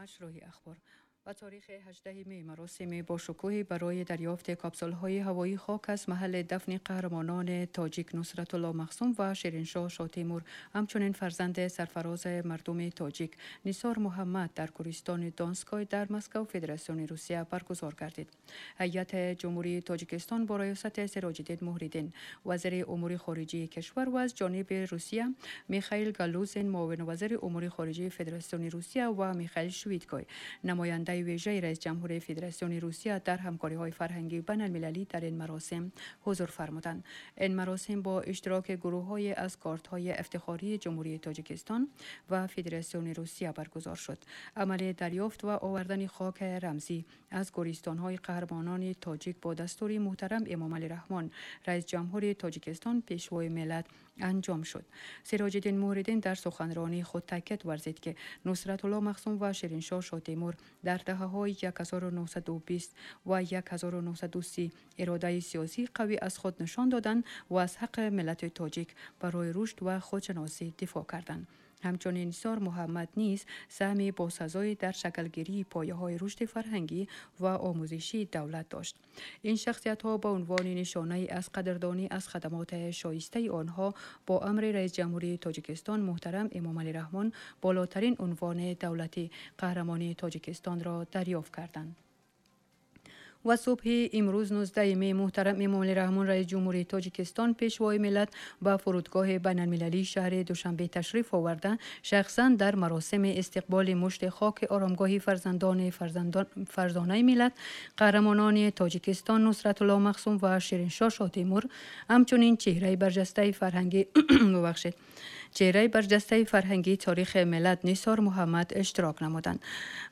مشروع اخبار. و تاریخ 18 می مراسم باشکوهی برای دریافت کاپسول‌های هوایی خاک از محل دفن قهرمانان تاجیک نصرت الله مخصوم و شیرینشاه شاه تیمور، همچنین فرزند سرفراز مردم تاجیک نثار محمد در گورستان دانسکای در مسکو فدراسیون روسیه برگزار گردید. هیئت جمهوری تاجیکستان با ریاست سراج الدین مهریدین، وزیر امور خارجه کشور، و از جانب روسیه میخائیل گالوزین، معاون وزیر امور خارجه فدراسیون روسیه، و میخائیل شویدکای، نماینده ویژه رئیس جمهور فدراسیون روسیه در همکاری‌های فرهنگی بین المللی، در این مراسم حضور فرمودند. این مراسم با اشتراک گروه‌های از کارت‌های افتخاری جمهوری تاجیکستان و فدراسیون روسیه برگزار شد. عمل دریافت و آوردن خاک رمزی از گورستان‌های قهرمانان تاجیک با دستور محترم امام علی رحمان، رئیس جمهور تاجیکستان، پیشوای ملت، انجام شد. سراج الدین مهریدین در سخنرانی خود تاکید ورزید که نصرت الله مخصوم و شیرینشاه شاه تیمور در دهه‌های 1920 و 1930 اراده سیاسی قوی از خود نشان دادند و از حق ملت تاجیک برای رشد و خودشناسی دفاع کردند. همچنین نثار محمد نیز سهم باسزایی در شکلگیری پایه های رشد فرهنگی و آموزشی دولت داشت. این شخصیت ها به عنوان نشانه از قدردانی از خدمات شایسته آنها با امر رئیس جمهوری تاجیکستان محترم امام علی رحمان بالاترین عنوان دولتی قهرمانی تاجیکستان را دریافت کردند. و صبح امروز 19 می محترم امام رحمان، رئیس جمهوری تاجیکستان، پیشوای ملت، به فرودگاه بین المللی شهر دوشنبه تشریف آورده، شخصا در مراسم استقبال مشت خاک آرامگاه فرزندان فرزانه ملت، قهرمانان تاجیکستان نصرت الله مخصوم و شیرینشاه شاه تیمور، همچنین چهره برجسته فرهنگی، ببخشید، چهره برجسته فرهنگی تاریخ ملت نثار محمد اشتراک نمودند.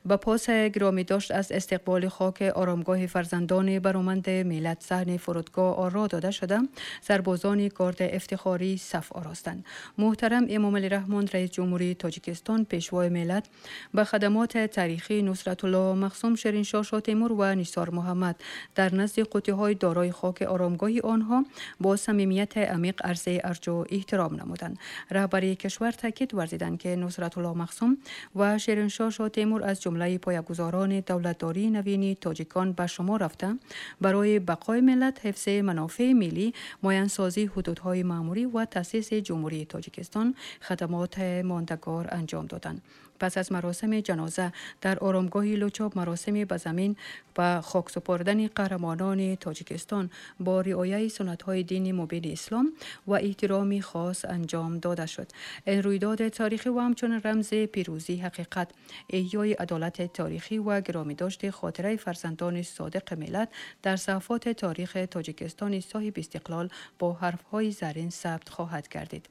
به پاس گرامی داشت از استقبال خاک آرامگاه فرزندان برومند ملت صحن فرودگاه آرا داده شده، سربازان گارد افتخاری صف آراستند. محترم امام علی رحمان، رئیس جمهوری تاجیکستان، پیشوای ملت، به خدمات تاریخی نصرت الله مخصوم، شیرینشاه شاه تیمور و نثار محمد در نزد قوطی های دارای خاک آرامگاه آنها با صمیمیت عمیق عرض ارج و احترام نمودند. رهبری کشور تاکید ورزیدند که نصرت الله مخصوم و شیرینشاه شاه تیمور از جمله پایه‌گذاران دولتداری نوین تاجیکان به شما رفته، برای بقای ملت، حفظ منافع ملی، معین‌سازی حدودهای ماموری و تاسیس جمهوری تاجیکستان خدمات ماندگار انجام دادند. پس از مراسم جنازه در آرامگاه لوچاب، مراسم به زمین و خاک سپردن قهرمانان تاجیکستان با رعایت سنت‌های دین مبین اسلام و احترام خاص انجام داده شد. این رویداد تاریخی و همچنین رمز پیروزی حقیقت، احیای عدالت تاریخی و گرامی داشت خاطره فرزندان صادق ملت در صفحات تاریخ تاجیکستان صاحب استقلال با حرف‌های زرین ثبت خواهد گردید.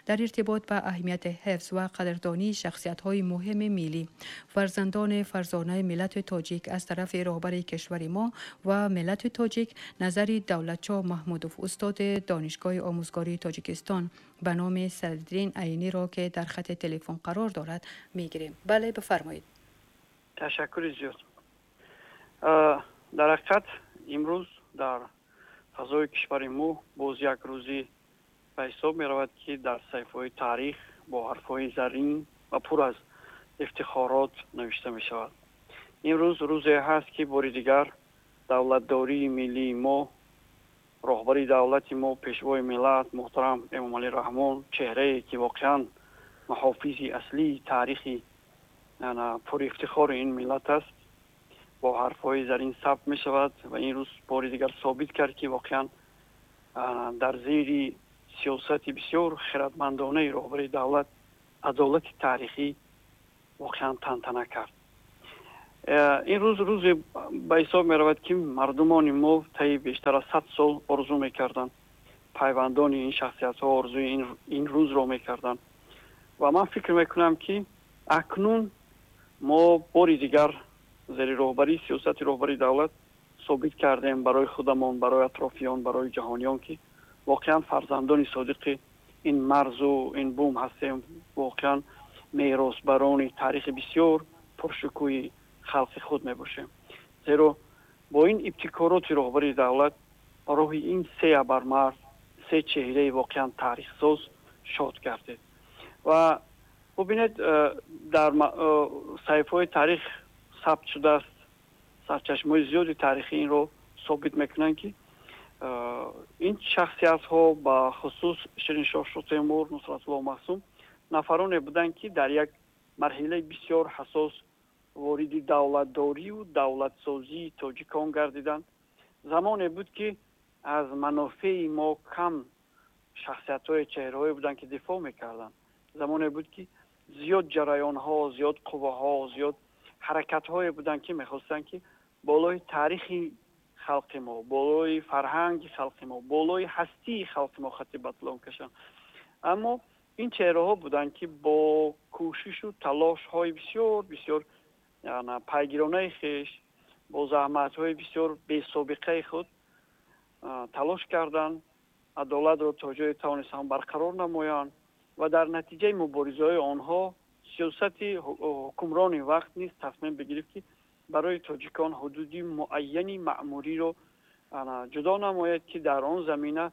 در ارتباط به اهمیت حفظ و قدردانی شخصیت‌های مهم ملی، فرزندان فرزانه ملت تاجیک، از طرف رهبر کشور ما و ملت تاجیک نظر دولتشاه محمودوف، استاد دانشگاه آموزگاری تاجیکستان، به نام صدرالدین عینی را که در خط تلفن قرار دارد میگیریم. بله، بفرمایید. تشکر زیاد. در حقیقت امروز در فضای کشور ما باز یک روزی به حساب می رود که در صفحه تاریخ با حرفهای زرین و پر از افتخارات نوشته می شود. امروز روزی هست که باری دیگر دولتداری ملی ما، роҳбари давлати мо، пешвои миллат муҳтарам Эмомалӣ Раҳмон، чеҳрае ки воқеан муҳофизи аслии таърихи пурифтихори ин миллат аст، бо ҳарфҳои зарин сабт мешавад ва ин рӯз бори дигар собит кард، ки воқеан дар зери сиёсати бисёр хиратмандонаи роҳбари давлат адолати таърихӣ воқеан тантана кард. Ин рӯз рӯзе ба ҳисоб меравад، ки мардумони мо таи бештар аз 100 сол орзу мекарданд، пайвандони ин шахсиятҳо орзуи ин рӯзро мекарданд ва ман фикр мекунам، ки акнун мо бори дигар зери роҳбарии сиёсати роҳбари давлат собит кардем барои худамон، барои атрофиён، барои ҷаҳониён، ки воқеан фарзандони содиқи ин марзу ин бум ҳастем، воқеан меросбарони таърихи бисёр пуршукӯҳи халқи худ мебошем. Зеро бо ин ибтикороти роҳбари давлат роҳи ин се абармард، се чеҳраи воқеан таърихсоз шод гардид ва Бубинед, дар саҳифаҳои таърих сабт шудааст, сарчашмаҳои зиёди таърихӣ инро собит мекунанд, ки ин шахсиятҳо, ба хусус Шириншоҳ Шотемур, Нусратулло Маҳсум, нафароне буданд, ки дар як марҳилаи бисёр ҳассос вориди давлатдорию давлатсозии тоҷикон гардиданд. Замоне буд, ки аз манофеи мо кам шахсиятҳои, чеҳраҳое буданд, ки дифоъ мекарданд. Замоне буд, ки зиёд ҷараёнҳо, зиёд қувваҳо, зиёд ҳаракатҳое буданд, ки мехостанд, ки болои таърихи халқи мо, болои фарҳанги халқи мо, болои ҳастии халқи мо хати батлон кашанд. Аммо ин чеҳраҳо буданд, ки бо кӯшишу талошҳои бисёр бисёр пайгиронаи хеш, бо заҳматҳои бисёр бесобиқаи худ талош карданд адолатро то ҷое тавонистанд барқарор намоянд ва дар натиҷаи муборизаҳои онҳо сиёсати ҳукмрони вақт низ тасмим бигирифт, ки барои тоҷикон ҳудуди муайяни маъмуриро ҷудо намояд, ки дар он замина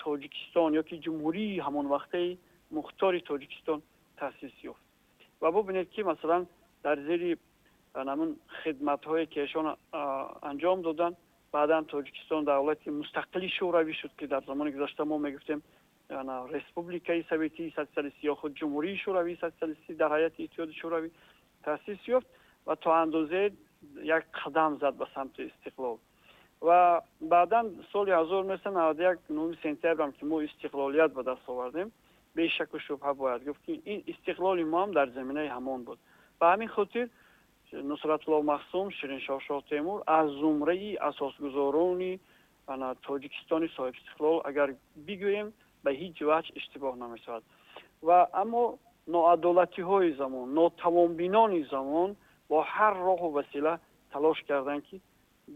Тоҷикистон ё ки ҷумҳурии ҳамон вақтаи мухтори Тоҷикистон таъсис ёфт. Ва бубинед, ки масалан дар зери ҳамун хидматҳое, ки эшон анҷом доданд, баъдан Тоҷикистон давлати мустақили шӯравӣ шуд, ки дар замони гузашта мо мегуфтем Республикаи Советии Социалистӣ ё худ Ҷумҳурии Шӯравии Социалистӣ дар ҳайати Иттиҳоди Шӯравӣ таъсис ёфт ва то андозе як қадам зад ба самти истиқлол. Ва баъдан соли 1991, 9 сентябрам, ки мо истиқлолият ба даст овардем, бешаку шубҳа бояд гуфт, ки ин истиқлоли мо ҳам дар заминаи ҳамон буд. Ба ҳамин хотир Нусратулло Маҳсум, Шириншоҳ Шоҳтемур аз зумраи асосгузорони Тоҷикистони соҳибистиқлол агар бигӯем, ба ҳеҷ ваҷҳ иштибоҳ намешавад. Ва аммо ноадолатиҳои замон, нотавонбинони замон бо ҳар роҳу васила талош карданд, ки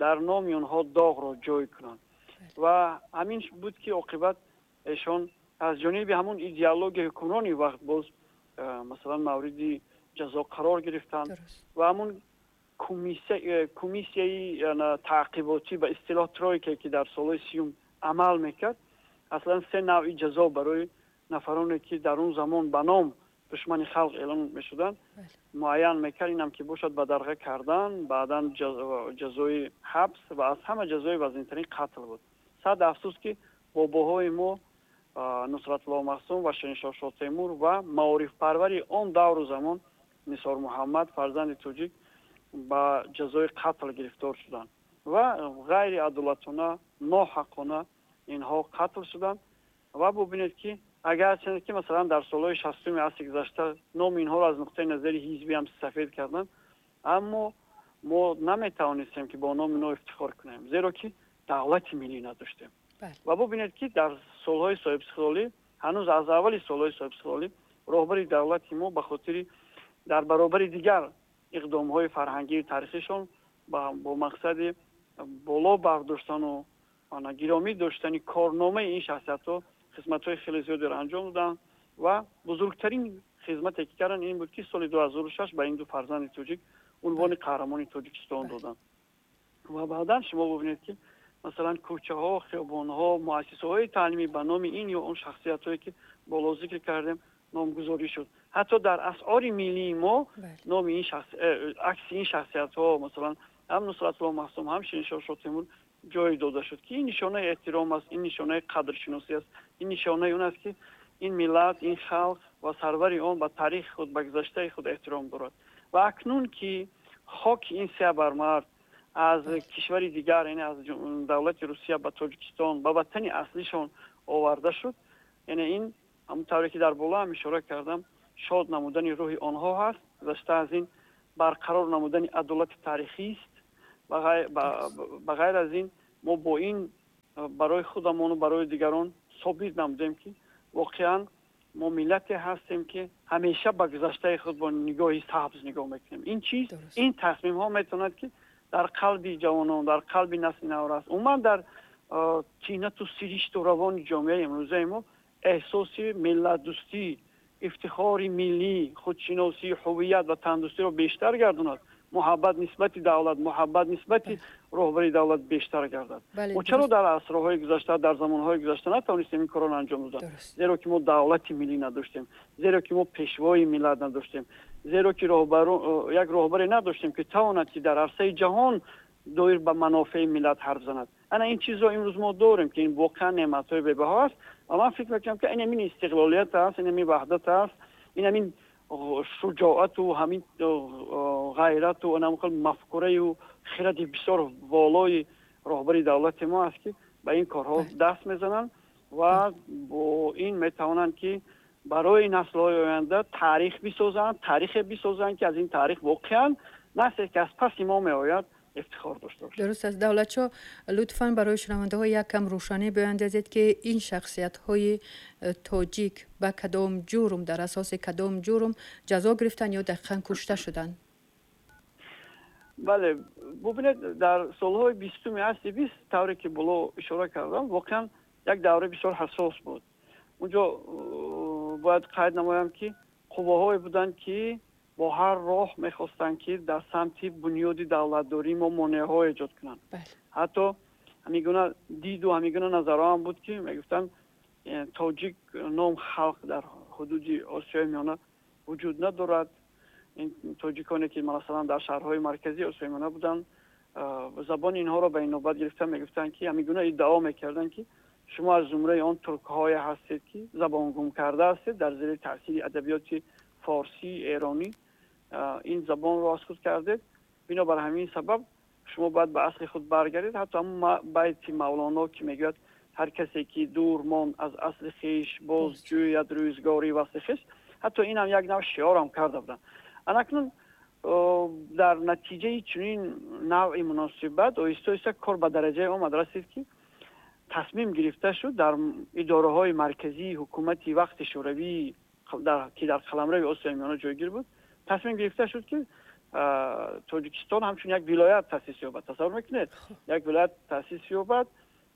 дар номи онҳо доғро ҷой кунанд. Ва ҳамин буд, ки оқибат эшон аз ҷониби ҳамон идеологияи ҳукмрони вақт боз масалан мавриди ҷазо қарор гирифтанд ва ҳамон комиссияи таъқиботӣ, ба истилоҳ тройка, ки дар солҳои 30-ум амал мекард, аслан се навъи ҷазо барои нафароне, ки дар он замон ба ном душмани халқ эълон мешуданд, муайян мекард. Инам ки бошад бадарға кардан, баъдан ҷазои ҳабс ва аз ҳама ҷазои вазнинтарин қатл буд. Сад афсӯс, ки бобоҳои мо Нусратулло Маҳсум ва Шириншоҳ Шоҳтемур ва маорифпарвари он давру замон Нисор Муҳаммад, фарзанди тоҷик, ба ҷазои қатл гирифтор шуданд ва ғайриадолатона, ноҳаққона инҳо қатл шуданд. Ва бубинед, ки агарчанде ки масалан дар солҳои 60-уми асри гузашта номи инҳоро аз нуқтаи назари ҳизбӣ ҳам сафед карданд, аммо мо наметавонистем, ки бо номи инҳо ифтихор кунем, зеро ки давлати миллӣ надоштем. Ва бубинед, ки дар солҳои соҳибистиқлолӣ, ҳанӯз аз аввали солҳои соҳибистиқлолӣ, роҳбари давлати мо ба хотири дар баробари дигар иқдомҳои фарҳангию таърихишон бо мақсади боло бардоштану гиромӣ доштани корномаи ин шахсиятҳо хизматҳои хеле зиёдеро анҷом доданд. Ва бузургтарин хизмате, ки карданд, ин буд, ки соли 2006 ба ин ду фарзанди тоҷик унвони қаҳрамони Тоҷикистон доданд. Ва баъдан шумо бубинед, ки масалан кӯчаҳо, хиёбонҳо, муассисаҳои таълимӣ ба номи ин ё он шахсиятҳое, ки боло зикр кардем, номгузорӣ шуд. Ҳатто дар асъори миллии мо номи ин шахс, акси ин шахсиятҳо, масалан ҳам Нусратулло Маҳсум, ҳам Шириншоҳ Шоҳтемур ҷой дода шуд, ки ин нишонаи эҳтиром аст, ин нишонаи қадршиносӣ аст, ин нишонаи он аст, ки ин миллат, ин халқ ва сарвари он ба таърихи худ, ба гузаштаи худ эҳтиром дорад. Ва акнун ки хоки ин се абармард аз кишвари дигар, яъне аз давлати Русия, ба Тоҷикистон, ба ватани аслишон оварда шуд, яъне ин ҳамон тавре ки дар боло ҳам ишора кардам, шод намудани рӯҳи онҳо ҳаст. Гузашта аз ин, барқарор намудани адолати таърихист. Ба ғайр аз ин, мо бо ин барои худамону барои дигарон собит намудем, ки воқеан мо миллате ҳастем, ки ҳамеша ба гузаштаи худ бо нигоҳи сабз нигоҳ мекунем. Ин чиз, ин тасмимҳо метавонад, ки дар қалби ҷавонон, дар қалби насли наврас, умуман дар тинату сиришту равони ҷомеаи имрӯзаи мо эҳсоси миллатдӯстӣ, ифтихори миллӣ, худшиносӣ, ҳувият ва тандӯстиро бештар гардонад. Муҳаббат нисбати давлат, муҳаббат нисбати роҳбари давлат бештар гардад. Мо чаро дар асрҳои гузашта, дар замонҳои гузашта натавонистем ин корро анҷом додан? Зеро ки мо давлати миллӣ надоштем, зеро ки мо пешвои миллат надоштем, зеро ки як роҳбаре надоштем, ки тавонад ки дар арсаи ҷаҳон доир ба манофеи миллат ҳарф занад. Ана ин чизро имрӯз мо дорем, ки ин воқеан неъматҳои бебаҳо аст. Ва ман фикр мекунам, ки ин ҳамин истиқлолият аст, ин ҳамин ваҳдат аст, ин ҳамин шуҷоату ҳамин ғайрату анам хел мафкураю хиради бисёр волои роҳбари давлати мо аст, ки ба ин корҳо даст мезананд ва бо ин метавонанд, ки барои наслҳои оянда таърих бисозанд, таърихе бисозанд, ки аз ин таърих воқеан насле, ки аз паси мо меояд, ифтихор дошта бошад. Дуруст аст. Давлатшо, лутфан барои шунавандаҳо як кам рӯшанӣ биандозед, ки ин шахсиятҳои тоҷик ба кадом ҷурм, дар асоси кадом ҷурм ҷазо гирифтанд ё дақиқан кушта шуданд? Бале, бубинед, дар солҳои 20-уми асри 20, тавре ки боло ишора кардам, воқеан як давраи бисёр ҳассос буд. Унҷо бояд қайд намоям, ки қувваҳое буданд, ки бо ҳар роҳ мехостанд, ки дар самти бунёди давлатдории мо монеаҳо эҷод кунанд. Ҳатто ҳамин гуна диду ҳамин гуна назарҳо ҳам буд, ки мегуфтанд, тоҷик ном халқ дар ҳудуди Осиёи Миёна вуҷуд надорад. Ин тоҷиконе, ки масалан дар шаҳрҳои марказии Осиёи Миёна буданд, забони инҳоро ба инобат гирифта мегуфтанд, ки ҳамин гуна иддао мекарданд, ки шумо аз зумраи он туркҳое ҳастед, ки забон гум карда ҳастед, дар зери таъсири адабиёти форсӣ, эронӣ ин забонро аз худ кардед, бинобар ҳамин сабаб шумо бояд ба асли худ баргардед. Ҳатто ҳамон байти Мавлоно, ки мегӯяд: «Ҳар касе ки дур монд аз асли хеш, боз ҷӯяд рӯзгори васли хеш», ҳатто инам як нав шиорам карда буданд. Анакнун дар натиҷаи чунин навъи муносибат оҳиста оҳиста кор ба дараҷае омад расид, ки тасмим гирифта шуд дар идораҳои марказии ҳукумати вақти Шӯравӣ, ки дар қаламрави Осиёи Миёна ҷойгир буд, тасмим гирифта шуд, ки Тоҷикистон ҳамчун як вилоят таъсис ёбад. Тасаввур мекунед, як вилоят таъсис ёбад,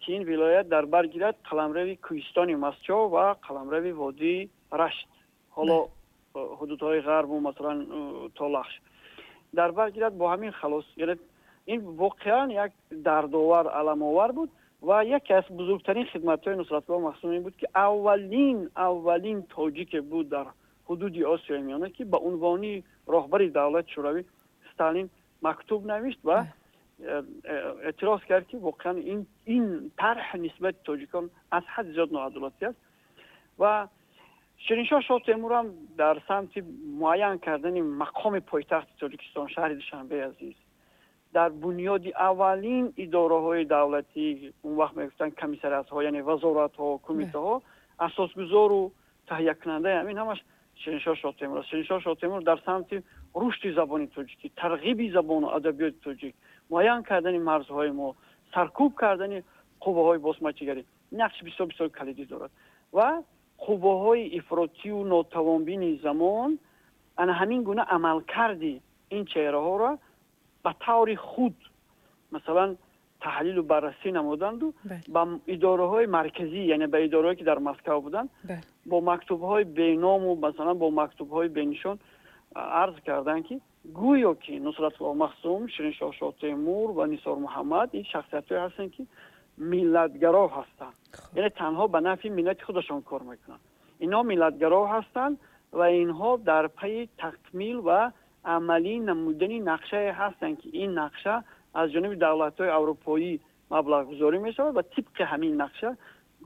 ки ин вилоят дар бар гирад қаламрави кӯҳистони Мастчоҳ ва қаламрави водии Рашт, ҳоло ҳудудҳои ғарбу масалан то Лахш дар бар гирад. Бо ҳамин халос. Яъне ин воқеан як дардовар, аламовар буд. Ва яке аз бузургтарин хидматҳои Нусратулло Махсум ин буд, ки аввалин тоҷике буд дар ҳудуди Осиёи Миёна, ки ба унвони роҳбари давлати Шӯравӣ Сталин мактуб навишт ва эътироз кард, ки воқеан ин тарҳ нисбати тоҷикон аз ҳад зиёд ноадолатӣ аст. Ва Шириншоҳ Шоҳтемурам дар самти муайян кардани мақоми пойтахти Тоҷикистон, шаҳри Душанбеи азиз, дар бунёди аввалин идораҳои давлатӣ, он вақт мегуфтанд комиссариатҳо, яъне вазоратҳо, кумитаҳо, асосгузору таҳиякунандаи ҳамин ҳамаш Шириншоҳ Шоҳтемур аст. Шириншоҳ Шоҳтемур дар самти рушди забони тоҷикӣ, тарғиби забону адабиёти тоҷик, муайян кардани марзҳои мо, саркӯб кардани қувваҳои босмачигарӣ нақши бисёр бисёр калидӣ дорад. Ва қувваҳои ифротию нотавонбини замон ана ҳамин гуна амалкарди ин чеҳраҳоро ба таври худ масалан таҳлилу баррасӣ намуданду ба идораҳои марказӣ, яъне ба идораҳое, ки дар Москав буданд, бо мактубҳои беному, масалан бо мактубҳои бенишон арз карданд, ки гӯё ки Нусратулло Махсум, Шириншоҳ Шоҳтемур ва Нисор Муҳаммад ин шахсиятҳое ҳастанд, ки миллатгаро ҳастанд, яъне танҳо ба нафъи миллати худашон кор мекунанд, инҳо миллатгаро ҳастанд ва инҳо дар пайи такмил ва амалӣ намудани нақшае ҳастанд, ки ин нақша аз ҷониби давлатҳои аврупоӣ маблағгузорӣ мешавад ва тибқи ҳамин нақша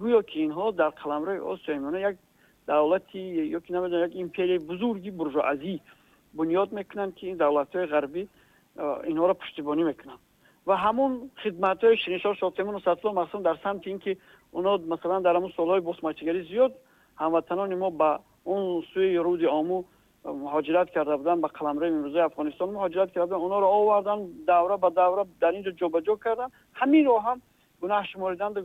гӯё ки инҳо дар қаламрави Осиёи Миёна як давлати ё ки намедонам як империяи бузурги буржуазӣ бунёд мекунанд, ки ин давлатҳои ғарбӣ инҳоро пуштибонӣ мекунанд. Ва ҳамон хидматҳои Шириншоҳ Шоҳтемур, Нусратулло Махсум дар самти ин ки онҳо масалан дар ҳамон солҳои босмачигарӣ зиёд ҳамватанони мо ба он сӯи руди Ому муҳоҷират карда буданд, ба қаламрави имрӯзаи Афғонистон муҳоҷират карда буданд, онҳоро оварданд, давра ба давра дар ин ҷо ҷобаҷо карданд, ҳаминро ҳам гунаҳ шумориданду.